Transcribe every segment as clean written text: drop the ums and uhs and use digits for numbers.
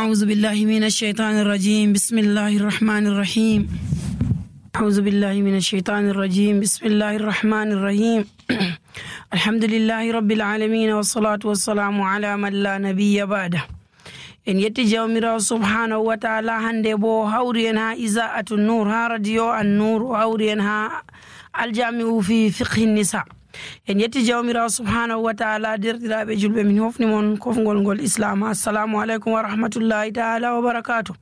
أعوذ بالله من الشيطان الرجيم بسم الله الرحمن الرحيم أعوذ بالله من الشيطان الرجيم بسم الله الرحمن الرحيم الحمد لله رب العالمين والصلاة والسلام على من لا نبي بعده en yetti jawmirawo subhanahu wa ta'ala hande bo hawri en ha iza'atu nur ha radio an nur hawri en ha aljami'u fi fiqhi nisa en yetti jawmirawo subhanahu wa ta'ala derɗiraɓe julɓe min hofni mon kofgol ngol islam assalamu aleykum wa rahmatullahi ta'ala wa barakatuh.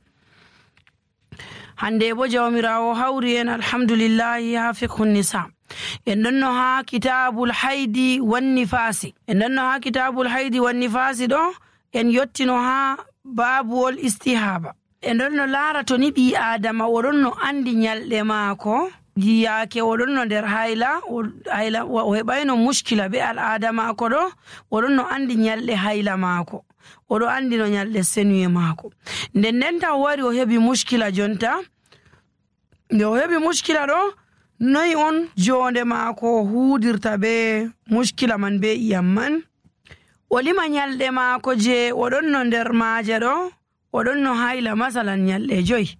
hande bo jawmirawo hawri en alhamdulillahi ha fiqhu nisa en ɗonno ha kitabul haydi wan nifasi ɗo en yottino ha babuwol istihaba en ɗonno laara to ni ɓi adama oɗon no andi nyalɗe maako yiyake oɗon no nder hayla o heɓayno muskila be al'ada maako ɗo oɗon no andi nyalɗe hayla maako oɗo andi no nyalɗe senuye maako nden ndenta o wari o heɓi muskila jonta nde o heɓi muskila ɗo noyi on jonde maako huudirta be muskila man be iyam man o lima nyalɗe maako je oɗon no nder maaje ɗo oɗon no hayla masalan nyalɗe 5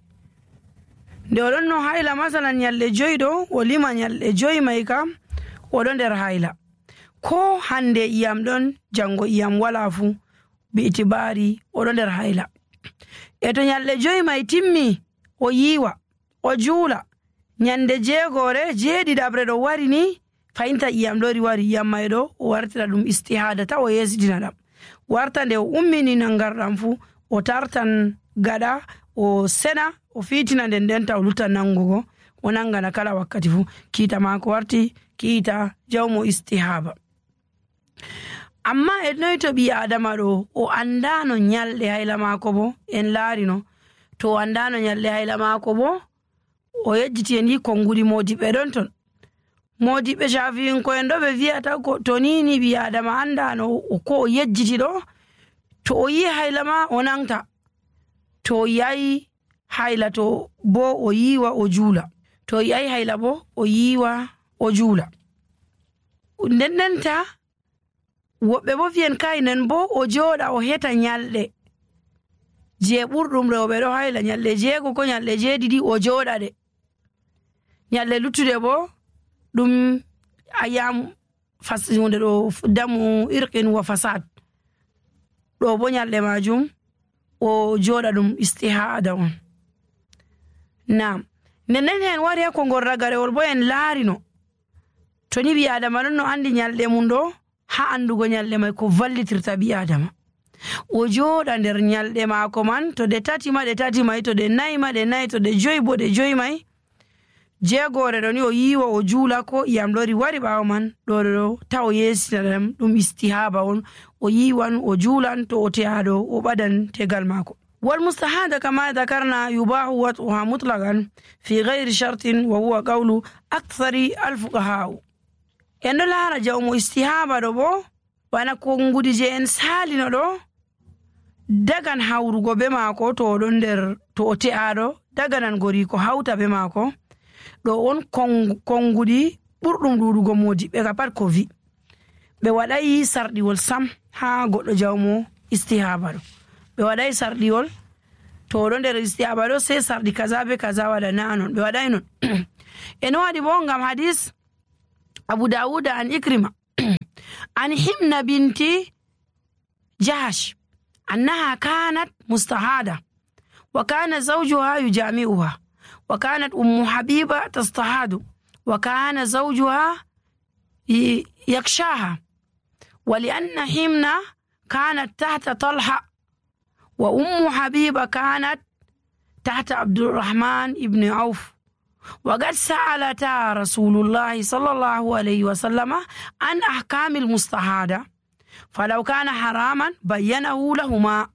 nde oɗon no hayla masalan nyalɗe 5 ɗo o lima nyalɗe 5 mai kam oɗo nder hayla ko hande iyam ɗon jango iyam wala fu bi itibari oɗo nder hayla e to nyalɗe 5 mai timmi o yiwa o juula nyande 7 ɗo wari ni fayinta iyam ɗo wari iyam mai ɗo o wartira ɗum istihada ta o yesitina ɗam warta nde o ummini nangarɗam fu o tartan gaɗa o sena o fitina nden ndenta o lutan nangugo o nangana kala wakkati fu kiita mako warti kiita jawmo istihaba. amma e noy to ɓi adama ɗo o andano nyalɗe hayla mako bo en laarino to o andano nyalɗe hayla mako bo o yejjiti en yi konngudi modiɓe ɗon ton modiɓe shafi'inko'en ɗo ɓe wiyata to nini ɓi adama andano ko o yejjiti ɗo to o yi hayla ma o nangta to o yayi hayla to bo o yiwa o juula to o yayi hayla bo o yiwa o juula ndendenta woɓɓe bo fiyen kaynen bo o jooɗa o heta nyalɗe je ɓurɗum rewɓe ɗo hayla nyalɗe 6 ko nyalɗe 7 o jooɗa ɗe nyalɗe luttude bo ɗum ayam hunde ɗo damu irqin wa fasad ɗo bo nyalɗe majum o jooɗa ɗum istihada on. Naam nden en wari ha kongol ragarewol bo en laarino to ni ɓi adama ɗon no andi nyalɗe mum ɗo ha andugo nyalɗe mai ko vallitirta ɓi adama o jooɗa nder nyalɗe maako man to ɗe 3 mai to ɗe 4 ma ɗe 4 to ɗe 5 bo ɗe 5 mai 6 ɗo ni o yiwa o juula ko iyam ɗori wari ɓaawo man ɗo ta o yesitina ɗam ɗum istihaba on o yiwan o juulan to o teyaɗo o ɓadan tegal maako. wal mustahada kama dhakarna yubahu wat'uha mutlaqan fi ghayri shartin wa huwa qawlu akthari alfuqaha en ɗo laara jawmo istihaba ɗo bo bana konngudi je en salino ɗo dagan hawrugo be maako to oɗon nder to o te'aɗo daganan gori ko hawta be maako ɗo on konngudi ɓurɗum ɗuɗugo modiɓɓe ka pat ko vi ɓe waɗayi sarɗiwol sam ha goɗɗo jawmo istihaba ɗo ɓe waɗayi sarɗiwol to oɗo nder istihaba ɗo sei sarɗi kaza be kaza waɗana anon ɓe waɗayi non en waɗi bo ngam hadis abu dawuda an ikrima an himna binti jahash annaha kanat mustahada wa kana zawjuha yujami'uha وكانت أم حبيبة تستحاض وكان زوجها يكشاها ولأن حمنا كانت تحت طلحة وأم حبيبة كانت تحت عبد الرحمن بن عوف وقد سألتا رسول الله صلى الله عليه وسلم عن أحكام المستحاضة فلو كان حراما بينه لهما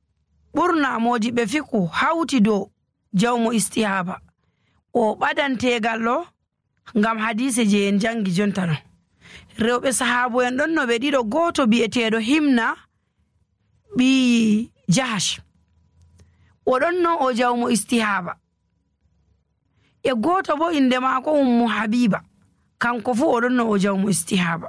برنا موجب فيكو حوتي دو جوم استيهابا o ɓadantegal ɗo ngam hadise je en jangi jonta ɗo rewɓe sahabo en ɗon no ɓe ɗiɗo goto bi'eteɗo himna ɓi jahash oɗon no o jawmo istihaba e goto bo inde maako ummu habiba kanko fu oɗon no o jawmo istihaba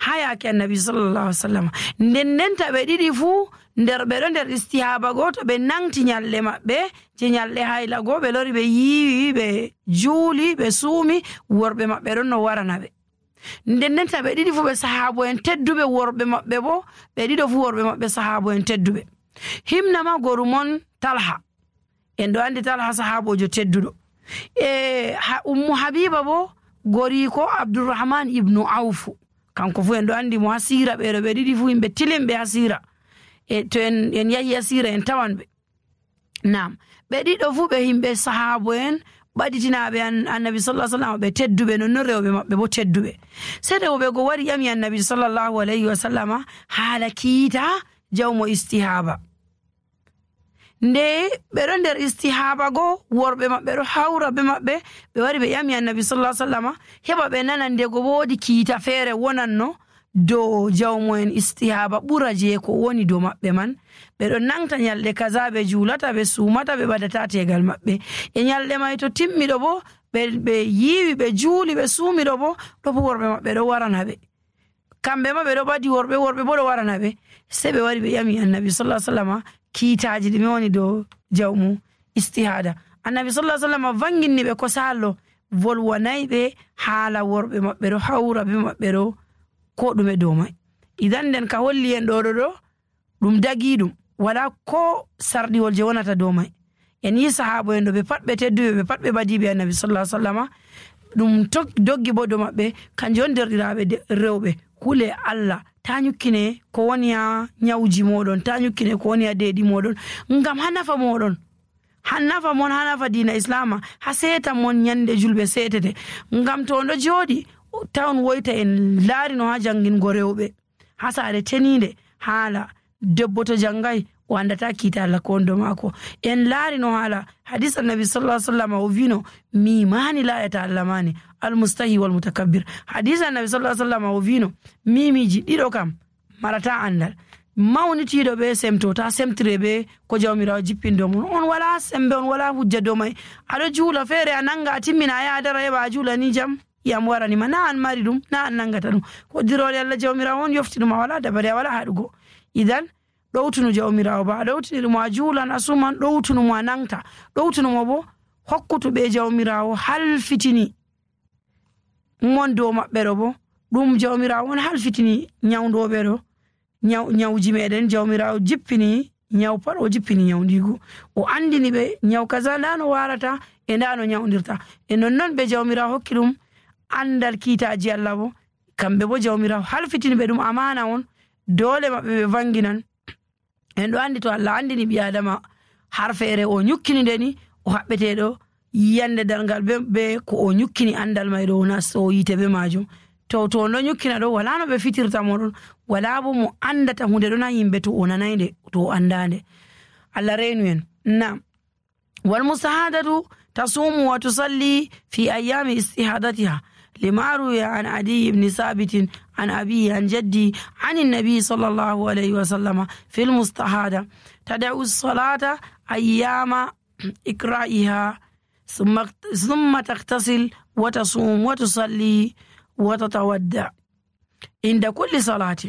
ha yake annabi sallallahu alaihi wasallam nden ndenta ɓe ɗiɗi fu nder ɓe ɗo nder istihaba goo to ɓe nangti nyalɗe maɓɓe je nyalɗe hayla goo ɓe lori ɓe yiiwi ɓe juuli ɓe suumi worɓe maɓɓe ɗon no warana ɓe. Ndendenta ɓe ɗiɗi fuu ɓe sahabo en tedduɓe worɓe maɓɓe bo ɓe ɗiɗo fuu worɓe maɓɓe sahabo en tedduɓe. Himnama gorumon Talha en ɗo andi Talha sahabojo tedduɗo. Ummu Habiba bo goriko Abdurrahman ibnu Awfu kanko fu en ɗo andi mo ha sira ɓeɗo ɓe ɗiɗi fu yimɓe tilimɓe ha sira to en yahi ha sira en tawan ɓe. Nam ɓe ɗiɗo fu ɓe yimɓe sahabo en ɓaditinaɓe annabi sallallahu alaihi wasallam ɓe tedduɓe nonnon rewɓe maɓɓe bo tedduɓe. Sai rewɓe go wari ƴami annabi sallallahu alaihi wasallama haala kiita jawmo istihaba. Nde ɓe ɗo nder istihaba go worɓe maɓɓe ɗo hawra be maɓɓe ɓe wari ɓe ƴami annabi sallallahu alaihi wasallama heɓa ɓe nana ndego woodi kiita feere wonanno dow jawmo en istihaba ɓura je ko woni dow maɓɓe man. Ɓe ɗo nangta nyalɗe kaza ɓe juulata ɓe suumata ɓe ɓadata tegal maɓɓe e nyalɗe may to timmiɗo bo ɓe yiiwi ɓe juuli ɓe suumiɗo bo ɗo bo worɓe maɓɓe ɗo warana ɓe kamɓe ma ɓe ɗo ɓadi worɓe bo ɗo warana ɓe. Sei ɓe wari ɓe ƴami annabi sallallahu alaihi wasallama kiitaji ɗume woni dow jawmu istihada. Annabi sallallahu alaihi wasallama vanginni ɓe ko sallo volwanayi ɓe haala worɓe maɓɓe ɗo hawra be maɓɓe ɗo ko ɗume dow may. Idan nden ka holli en ɗo ɗum dagi ɗum wala ko sarɗiwol je wonata dow may. En yi sahabo en ɗo ɓe pat ɓe tedduɓe ɓe pat ɓe badiɓe annabi sallallahu alaihi wasallama ɗum doggi bo dow maɓɓe kanjum on derɗiraɓe rewɓe hule Allah ta nyukkine ko woni ha nyawji moɗon ta nyukkine ko woni ha deeɗi moɗon ngam ha nafa moɗon ha nafa mon ha nafa diina islama ha seta mon nyande julɓe setete ngam to ɗo jooɗi tawn woyta en laarino ha jangingo rewɓe ha saare teninde haala debbo to jangai o andata kiita Allah ko ndo maako en laarino haala hadis annabi sallallahu alaihi wasallam o vino mimani la yata Allah mani almustahi wal mutakabbir. Hadis annabi sallallahu alaihi wasallam o vino mimiji ɗiɗo kam marata andal mawnitiɗo ɓe semto ta semtire ɓe ko jawmirawo jippindo mon on wala sembe on wala hujja dow may aɗo juula feere a nanga a timmina a yaadara heɓa a juula ni jam yam waranima na an mari ɗum na an nangata ɗum hoddirole Allah jawmirawo on yoftinuma wala dabare a wala haɗugo. Idan ɗowtunu jawmirawo ba a ɗowtiniɗumo a juulan a suman ɗowtunumo a nangta ɗowtunumo bo hokkutuɓe jawmirawo halfitini mon dow maɓɓe ɗo bo ɗum jawmirawo on halfitini nyawdoɓe ɗo nyawji meɗen jawmirawo jippini nyaw pat o jippini nyawdigu o andini ɓe nyaw kaza nda no warata e nda no nyawdirta e nonnon ɓe jawmirawo hokki ɗum andal kiitaji Allah bo kamɓe bo jawmirawo halfitini ɓe ɗum amana on dole maɓɓe ɓe vanginan. En ɗo andi to Allah andini ɓi adama har feere o nyukkini ndeni o haɓɓeteɗo yiyande darngal be ko o nyukkini andal mayɗo o nasto yite be majum to no nyukkina ɗo wala no ɓe fitirta moɗon wala bo mo andata hunde ɗon ha yimɓe to o nanayde to o andande. Allah reenu en. Nam wal mustahadatu tasumu wa tusalli fi ayami istihadatiha لما روي عن عدي بن ثابت عن أبيه عن جدي عن النبي صلى الله عليه وسلم في المستحاضة تدعو الصلاة أيام إقرائها ثم تغتسل وتصوم وتصلي وتتودع عند كل صلاة.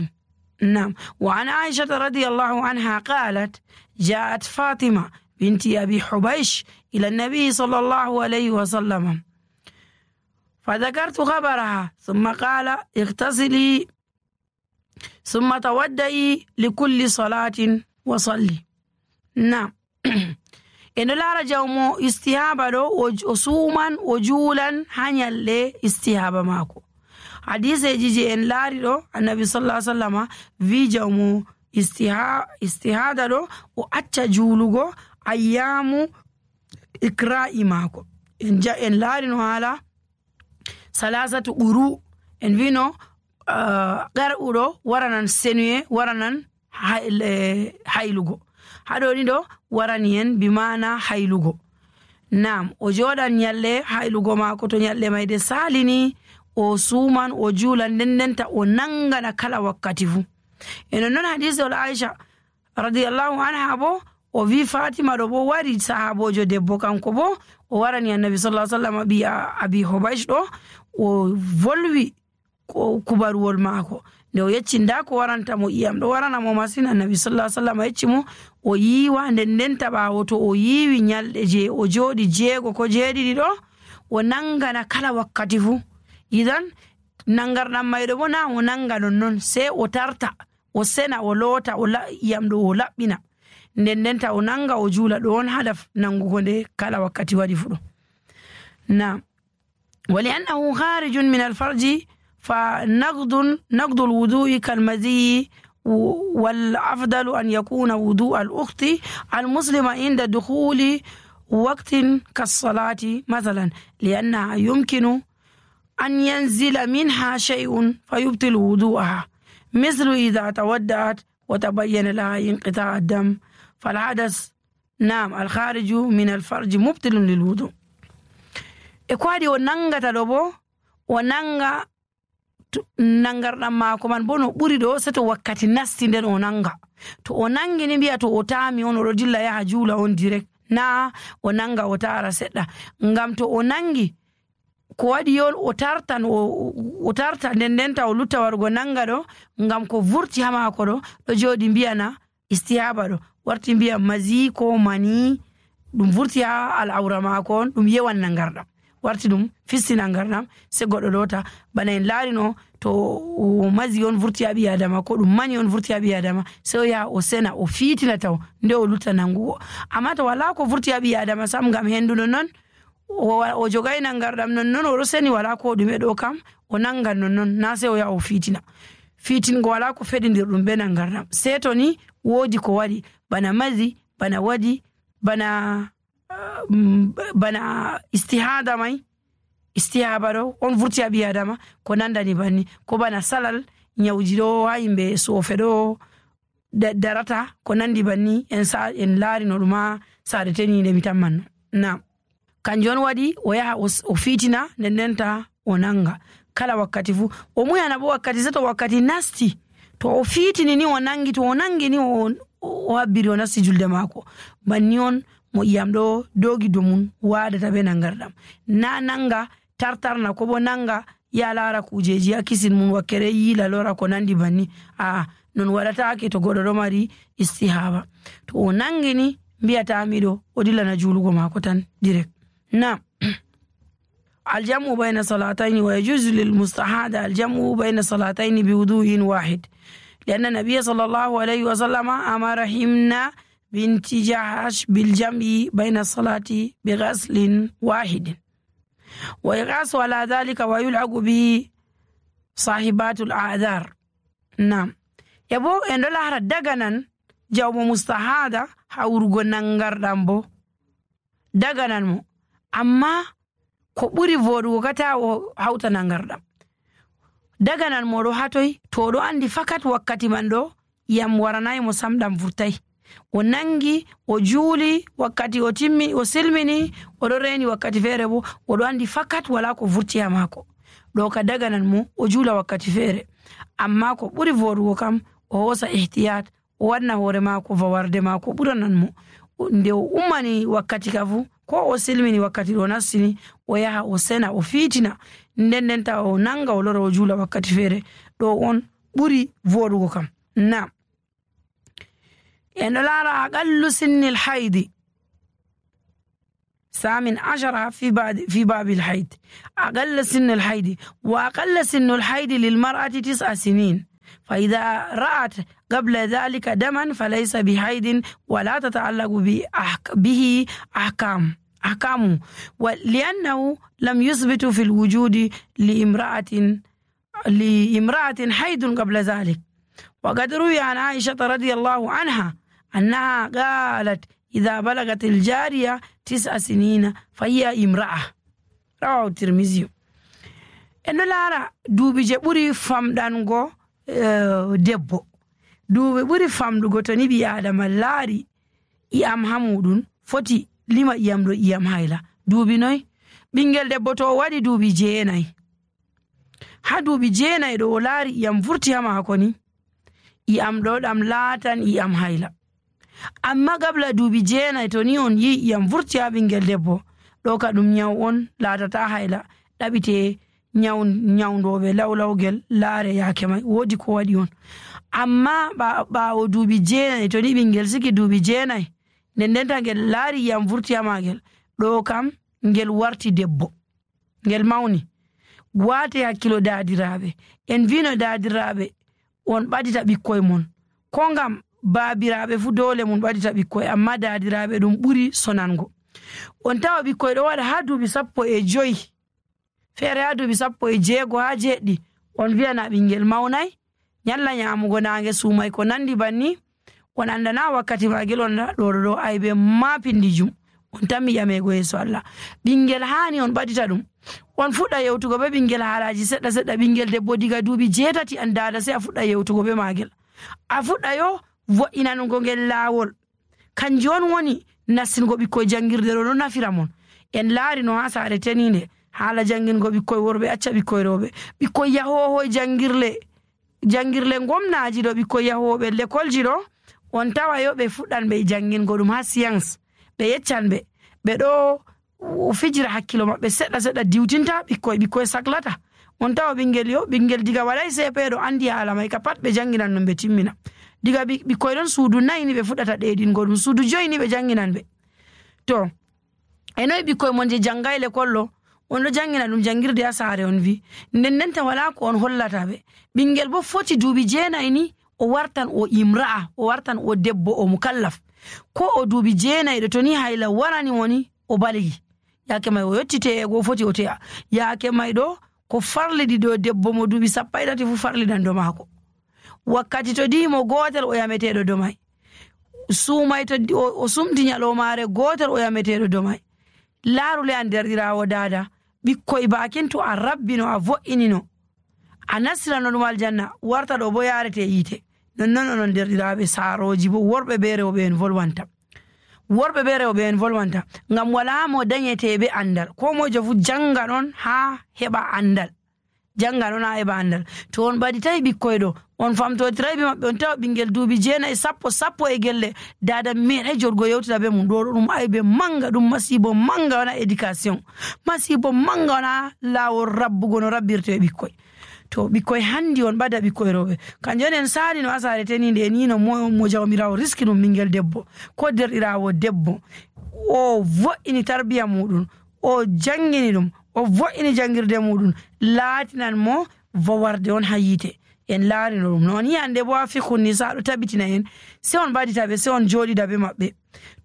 نعم. وعن عائشة رضي الله عنها قالت جاءت فاطمة بنت أبي حبيش إلى النبي صلى الله عليه وسلم فذكرت خبرها ثم قال اغتسلي ثم تودئي لكل صلاة وصلي. نعم. إن لا رجومو استهابة وصوما وجولا هنيال استهابة ماكو حديث يجي إن لاري النبي صلى الله عليه وسلم في جومو استهادة وأتى جولو أيام إقراء ماكو إن جاء إن لاري على salasatu uru en vino qar'uɗo waranan senuye waranan haylugo haɗo ni ɗo warani en bimana haylugo. Nam o joɗan nyalle haylugo mako to nyalle mayde salini o suman o juulan ndendenta o nangana kala wakkati fu. Eno non hadise ol Aisha radiyallahu anha bo o vi Fatima ɗo bo wari sahabojo debbo kanko bo o warani annabi sallallahu alaihi wasallam bi abi Hubaysh ɗo o volwi kubaruwol maako nde o yecci nda ko waranta mo iyam ɗo warana mo masin, annabi sallallahu alaihi wasallam yecci mo o yiiwa. nden ɓaawo to o yiiwi nyalɗe je o jooɗi 6 ko 7 ɗo, o nangana kala wakkati fuu. idan nangarɗam mayɗo bo na o nanga nonnon, sai o tarta, o sena, o loota, iyam ɗo o laɓɓina, nden o nanga o juula. ɗo on hada nangugo nde kala wakkati waɗi fuɗo. na wali annahu kharijun min alfarji fa naqdu alwudu'i kalmazi والأفضل أن يكون وضوء الأخت المسلمة عند دخول وقت كالصلاة مثلا، لأنها يمكن أن ينزل منها شيء فيبطل وضوءها، مثل إذا تودعت وتبين لها انقطاع الدم فالحدث نعم الخارج من الفرج مبطل للوضوء. إكوادي وننغا تلوبو وننغا nangarɗam maako man bo no ɓuri ɗo seto wakkati nasti nden o nanga. to o nangi ni mbiya to o taami on oɗo dilla yaha juula on direct, na o nanga o tara seɗɗa. ngam to o nangi ko waɗi yon o tarta ndendenta o lutta wargo nanga ɗo, ngam ko vurti ha maako ɗo jooɗi mbiyana istihaba ɗo warti mbiya mazi ko mani, ɗum vurti ha al'aura maako on, ɗum yewan nangarɗam warti ɗum fisti nangarɗam, se goɗɗo lota. bana en laarino to mazi on vurti ha ɓi adama ko ɗum mani on vurti ha ɓi adama, se o yaha o sena o fiitina taw nde o lutta nangugo. amma to wala ko vurti ha ɓi adama sam, ngam henduno non o jogay nangarɗam nonnon, oɗo seni wala ko ɗume ɗo kam o nangan nonnon, na se o yaha o fiitina. fiitingo wala ko feɗidir ɗum be nangarɗam, se to ni woodi ko waɗi bana mazi, bana waɗi bana istihada mai, istihaba ɗo on vurti ha ɓi adama ko nandani banni, ko bana salal nyawji ɗo ha yimɓe soofe ɗo darata ko nandi banni, en laari no ɗum ha saare teninde mi tammanno. na kanjum on waɗi o yaha o fiitina ndendenta o nanga kala wakkati fuu. o muyana bo wakkati se to wakkati nasti, to o fiitini ni o nangi, to o nangi ni o habbiri o nasti julde maako, banni on mo iyam ɗo dogi domum waɗata be nangarɗam, na nanga tartarna ko bo nanga ya lara kujeji ha kisin mum wakkere yiila lora ko nandi banni. non waɗatake to goɗɗo ɗo mari istihaba. to o nangini mbiyatamiɗo o dillana juulugo maako tan direct. na الجمع بين صلاتين ويجوز للمستحاضة الجمع بين صلاتين بوضوء واحد، لأن النبي صلى الله عليه وسلم أمر حمنا بنت جحش بالجمع بين الصلاة بغسل واحد، ويقاس على ذلك ويلعق به صاحبات الأعذار. نعم يبو إن الله دغنان جاوب مستحاضة حورغو نانغاردام بو دغنان مو، أما ko ɓuri voɗugo kata o hawta nangarɗam daganan moɗo hatoy to oɗo andi fakat wakkati man ɗo yam waranayi mo samɗam vurtay, o nangi o juuli wakkati o timmi o silmini oɗo reni wakkati feere bo oɗo andi fakat wala ko vurti ha maako, ɗo ka daganan mo o juula wakkati feere. amma ko ɓuri voɗugo kam o hosa ihtiyat, o wanna hoore maako fawarde maako ɓuranan mo, nde o ummani wakkati ka fu ko o silmini wakkati ɗo nastini o yaha o sena o fiitina ndendenta o nanga o lora o juula wakkati feere, ɗo on ɓuri voɗugo kam. na en ɗo laara aqallu sinni lhaydi ثامن عشر في باب الحيض. أقل سن الحيض وأقل سن الحيض للمرأة 9 سنين، فإذا رأت قبل ذلك دما فليس بحيض ولا تتعلق به أحكامه، ولأنه لم يثبت في الوجود لامرأة حيض قبل ذلك. وقد روي عن عائشة رضي الله عنها أنها قالت إذا بلغت الجارية 9 سنين فهي امرأة، رواه الترمذي. إنه لارا دوبي جبوري famɗango debbo, duuɓi ɓuri famɗugo to ni ɓi adama laari iyam ha muɗum foti lima iyam ɗo iyam hayla. duuɓi noy? ɓingel debbo to o waɗi duuɓi 9, ha duuɓi 9 ɗo o laari iyam vurti ha maako ni, iyam ɗo ɗam laatan iyam hayla. amma gabla duuɓi 9 to ni on yi iyam vurti ha ɓingel debbo, ɗo ka ɗum nyaw on laatata hayla, ɗaɓite nyawndoɓe lawlawgel laare yaake may woodi ko waɗi on. Amma ɓaawo duuɓi 9 to ni ɓingel siki duuɓi 9 ndendenta ngel laari yiyam vurti ha magel, ɗo kam ngel warti debbo, ngel mawni. Waate hakkilo daadiraaɓe, en vino daadiraaɓe on ɓadita ɓikkoye mon, ko ngam baabiraaɓe fu dole mun ɓadita ɓikkoye, amma daadiraaɓe ɗum ɓuri sonango. On tawa ɓikkoye ɗo waɗa ha duuɓi 15, feere ha duuɓi 16 ha 7, on wiyana ɓingel mawnay, nyalla nyamugo nange suumay ko nandi banni, on andana wakkati magel on ɗo aybe ma pindijum, on tammi ƴamego yeeso Allah. Ɓingel hani on ɓadita ɗum, on fuɗɗa yewtugo be ɓingel haalaji seɗɗa seɗɗa. Ɓingel debbo diga duuɓi 8 an dada sai a fuɗɗa yewtugo be magel, a fuɗɗa yo vo'inanugo ngel laawol. Kanjum on woni nassingo ɓikkoye jangirde ɗo nafira mon. En laari no ha saare teninde haala jangingo ɓikkoye worɓe acca ɓikkoye rewɓe, ɓikkoye yahoho jangirle gomnaji ɗo, ɓikkoye yahoɓe l'école ji ɗo, on tawa yo ɓe fuɗɗan ɓe jangingo ɗum ha science, ɓe yeccan ɓe ɗo fijira hakkilo maɓɓe seɗɗa seɗɗa diwtinta ɓikkoye saklata. On tawa ɓingel diga waɗay CP ɗo andi haala may ka pat ɓe janginan ɗum ɓe timmina. Diga ɓikkoye ɗon suudu 4 ni ɓe fuɗɗata ɗeɗingo ɗum, suudu 5 ni ɓe janginan ɓe. To enoy ɓikkoye mon je jangay l'école ɗo, on ɗo jangina ɗum jangirde ha saare on wi, ndendenta wala ko on hollata ɓe. Ɓingel bo foti duuɓi 9 ni o wartan o imra'a, o wartan o debbo o mukallaf, ko o duuɓi 9 ɗo to ni hayla warani woni o baligi, yaake may o yetti te'ego foti o te'a, yaake may ɗo ko farliɗi ɗo debbo mo duuɓi 13 fu farliɗan do maako. Wakkati to dimo gotel o yameteɗo do may, suumay to o sumti nyalomare gotel o yameteɗo do may. Laarule an derɗirawo dada, ɓikkoye bakin to a rabbino a vo'inino a nastirano ɗum aljanna, warta ɗo bo yarete yiite. Nonnon onon derɗiraɓe saaroji bo worɓe be rewɓe en volwanta, ngam wala mo dañete be andal, ko mojo fu janga ɗon ha heɓa andal, to on ɓaditayi ɓikkoye ɗo on famtotiray be maɓɓe, on tawa ɓingel duuɓi 9 sappo e gelle dada meeɗay joɗgo yewtida be mum, ɗo ɗum aybe manga, ɗum masibo manga wona éducation, masibo manga wona laawol rabbugo no rabbirte ɓikkoye. To ɓikkoye handi on ɓada ɓikkoye rewɓe, kanjum en saali no asare teninde en yino mo jawmirawo riski ɗum ɓingel debbo ko derɗirawo debbo, o vo'ini tarbiya muɗum, o jangini ɗum, o vo'ini jangirde muɗum, laatinan mo vowarde on ha yiite. En laarino ɗum noon hande bo ha fikhun nisa ɗo tabitina en, se on ɓadita ɓe, se on joɗida be maɓɓe.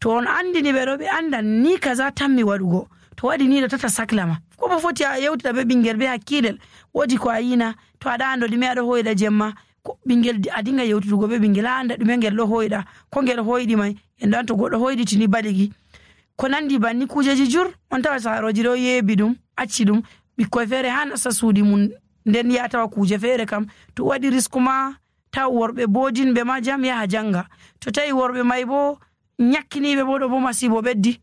To on andini ɓe ɗo ɓe andan ni kaza tammi waɗugo, to waɗi ni ɗo tata saklama, ko bo foti a yewtida be ɓingel be hakkilel, woodi ko a yina, to aɗa ando ɗume aɗo hoyɗa jemma, ko ɓingel a dinga yewtudugo be ɓingel a anda ɗume ngel ɗo hoyɗa, ko ngel hoyɗi may, en ɗon to goɗɗo hoyɗitini baligi ko nandi banni kujeji jur, on tawa saaroji ɗo yeebi ɗum acci ɗum, ɓikkoye feere ha nasta suudi mum, nden ya tawa kuje feere kam to waɗi risku ma taw worɓe bodinɓe ma jam yaha janga, to tawi worɓe may bo nyakkiniɓe bo ɗo bo masibo ɓeddi.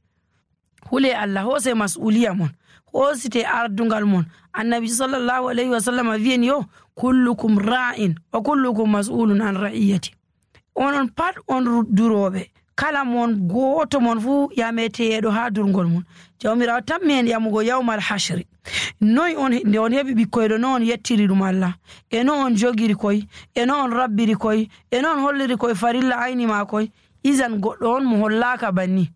Hule Allah hose mas'uliya mon, hosite ardungal mon. Annabi sallallahu alaihi wasallam wi'en yo kullukum ra'in wa kullukum mas'ulun an ra'iyati. Onon pat on duroɓe, kala mon goto mon fu yameteɗo ha durgol mon. Jawmirawo tammi en yamugo yawmal hashri. Noy on nde on heɓi ɓikkoye ɗo, no on yettiri ɗum Allah, e no on jogiri koye, e no on rabbiri koye, e no on holliri koye farilla ayni ma koye. Isan goɗɗo on mo hollaka banni,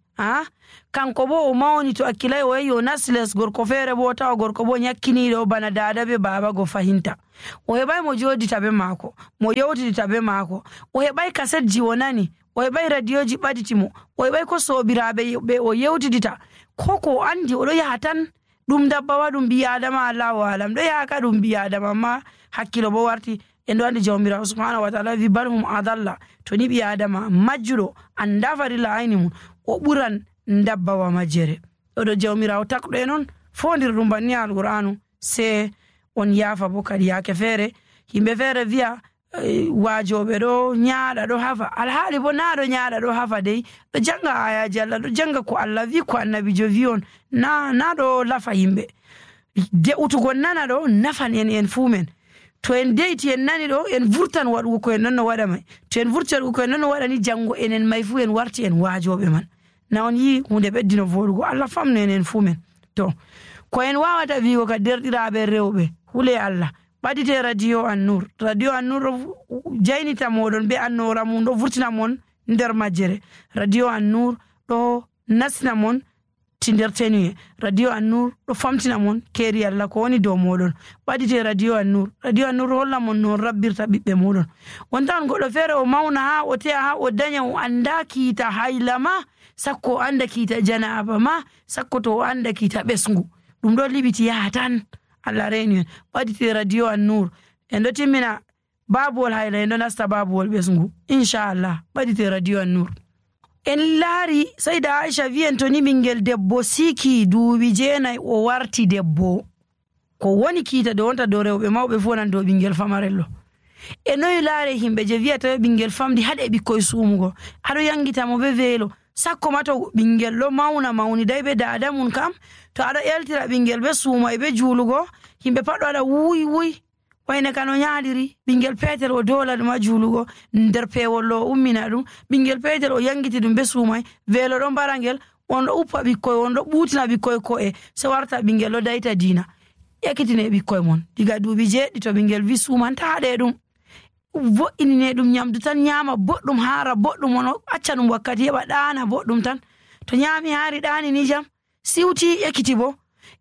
kanko bo o mawni to akkilay o yehi o nasles gorko feere bo tawa gorko bo nyakkiniɗo bana dada be baba go fahinta, o heɓay mo jodita be maako, mo yewtidita be maako, o heɓay kasetji o nani, o heɓay radioji ɓaditimo, o heɓay ko sobiraɓe ɓe o yewtidita, ko o andi oɗo yaha tan ɗum dabbawa ɗum bi adama, Allahu alam ɗo yaha ka ɗum bi adama, amma hakkilo bo warti en ɗo andi jawmirawo subhanahu wa ta'ala wi bal hum adalla, to ni ɓi adama majjuɗo anda farilla ayni mum o ɓuran dabbawa majjere. Ɗo jawmirawo takɗo e noon fondir ɗum banni alqur'anu, se on yaafa bo kadi yaake feere yimɓe feere wiya waajoɓe ɗo nyaaɗa ɗo hafa, alhaali bo na ɗo nyaaɗa ɗo hafa dey, ɗo janga ayaji Allah, ɗo janga ko Allah wi, ko annabijo wi on, na ɗo lafa yimɓe. De'utugo nana ɗo nafan en fuu men, to en deyti en nani ɗo en vurtan waɗugo ko en non no waɗa may, to en vurti waɗugo ko en non no waɗa ni jango enen may fuu en warti en waajoɓe man. Na on yi hunde ɓeddino voɗugo, Allah famno enen fuu men. To ko en wawata wigo ka derɗiraɓe rewɓe hule Allah ɓadite radio An-Nur. Radio An-Nur ɗo jaynita moɗon be annora mum, ɗo vurtina mon nder majjere. Radio An-Nur ɗo nasina mon ti nder tenuye. Radio An-Nur ɗo famtina mon keri Allah ko woni dow moɗon. ɓadite radio An-Nur. Radio An-Nur holla mon non rabbirta ɓiɓɓe moɗon. Wontan goɗɗo feere o mawna ha o te'a ha o daña o anda kiita hayla ma, sakko o anda kiita janaba ma, sakko to o anda kiita ɓesngu. ɗum ɗo liɓiti yaha tan. Allah reni en. ɓadite radio An-Nur. En ɗo timmina babuwol hayla, en ɗo nasta babuwol ɓesngu inchallah. ɓadite radio An-Nur. En laari Sayda Aisha wi'en to ni ɓingel debbo siki duuɓi 9 o warti debbo, ko woni kiita de wonta dow rewɓe mawɓe fu nan dow ɓingel famarello. E noyi laare himɓe je wiyata ɓingel famdi haɗe ɓikkoye suumugo, aɗo yangita mo be weelo. Sakko ma to ɓingel ɗo mawni dai be dada mun kam, to aɗo eltira ɓingel be suuma e be juulugo, himɓe pat ɗo waɗa wuy wayne kano nyaaliri. Ɓingel petel o dola ɗum ha juulugo, nder pewol o ummina ɗum. Ɓingel petel o yangiti ɗum be suumai, weelo ɗo mbara ngel, on ɗo uppa ɓikkoye, on ɗo ɓuutina ɓikkoye ko'e, se warta ɓingel ɗo dayta diina. Ekkitine ɓikkoye mon diga duuɓi 7 to ɓingel wi suumantaɗe ɗum, vo'inine ɗum nyamdu tan nyama boɗɗum, haara boɗɗum, on acca ɗum wakkati heɓa ɗaana boɗɗum tan. To nyami haari ɗaani ni jam siwti ekkiti bo.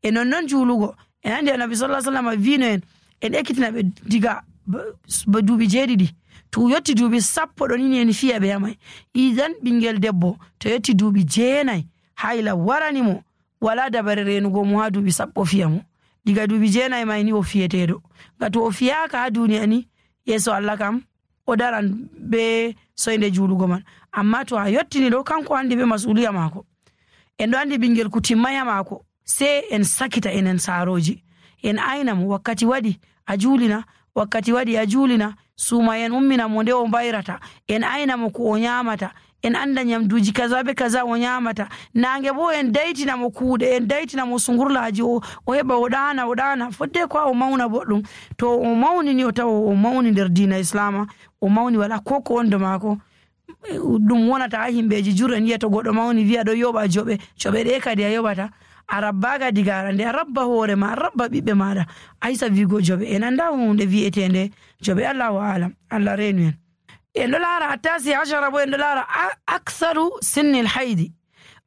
E nonnon juulugo, en andi Annabi sallallahu alaihi wasallam vino en ekkitina ɓe diga duuɓi 7 to yotti duuɓi 10 ɗo nini en fiya ɓe yamai. Idan ɓingel debbo to yotti duuɓi 9 hayla warani mo, wala dabare renugo mo ha duuɓi 10 fiya mo. Diga duuɓi 9 mai ni o fiyeteɗo. Gato o fiyaka ha duniya ni, yeso Allah kam o daran be soyde juulugo man. Amma to a yottini ɗo, kanko andi be masuliya mako. En ɗo andi ɓingel kutimmaya mako, se en sakita enen saroji, en ayna mo wakkati waɗi a juulina, wakkati waɗi a juulina, suuma en ummina mo nde o mbayrata, en ayna mo ko o nyamata, en anda nyamduji kaza be kaza o nyamata. Nange bo en daytina mo kuuɗe, en daytina mo sungurlaji o heɓa o ɗana fodde ko o mawna boɗɗum. To o mawni ni o tawa o mawni nder diina islama, o mawni wala ko wonde maako. Ɗum wonata ha himɓeji juren yiya to goɗɗo mawni wiya ɗo yoɓa joɓe ɗe kadi a yoɓata. A rabbaga diga arande, a rabba hoore ma, a rabba ɓiɓɓe maɗa, aysa wigo joɓe. En anda hunde wi'etende joɓe. Allahu alam. Allah renu en. En ɗo laara attasi ashara bo, en ɗo laara aktharu sinnil haydi.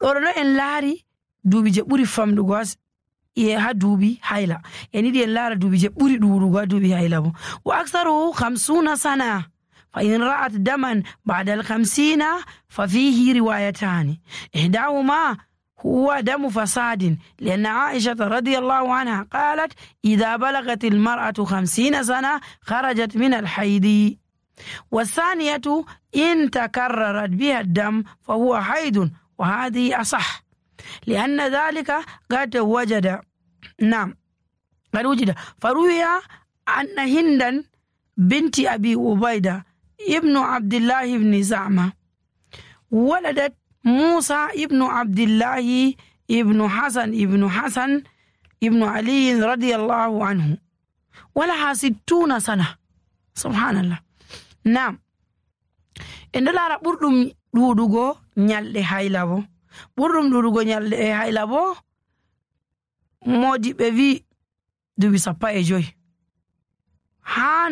ɗo en laari duuɓi je ɓuri famɗugo ha duuɓi hayla. En yiɗi en laara duuɓi je ɓuri ɗuɗugo ha duuɓi hayla bo. Wa aktharu 50 sana fa in ra'at daman ba'da al-50 fa fihi riwayatani ihdahuma هو دم فساد، لأن عائشة رضي الله عنها قالت إذا بلغت المرأة 50 سنة خرجت من الحيض. والثانية إن تكررت بها الدم فهو حيض، وهذه أصح لأن ذلك قد وجد فروي أن هندا بنت أبي عبيدة ابن عبد الله بن زعمة ولدت موسى ابن عبد الله ابن حسن ابن علي رضي الله عنه ولها 60 سنة. سبحان الله. نعم. en ɗo laara ɓurɗum ɗuɗugo nyalɗe hayla bo. ɓurɗum ɗuɗugo nyalɗe hayla bo modiɓe wi duuɓi 15 ha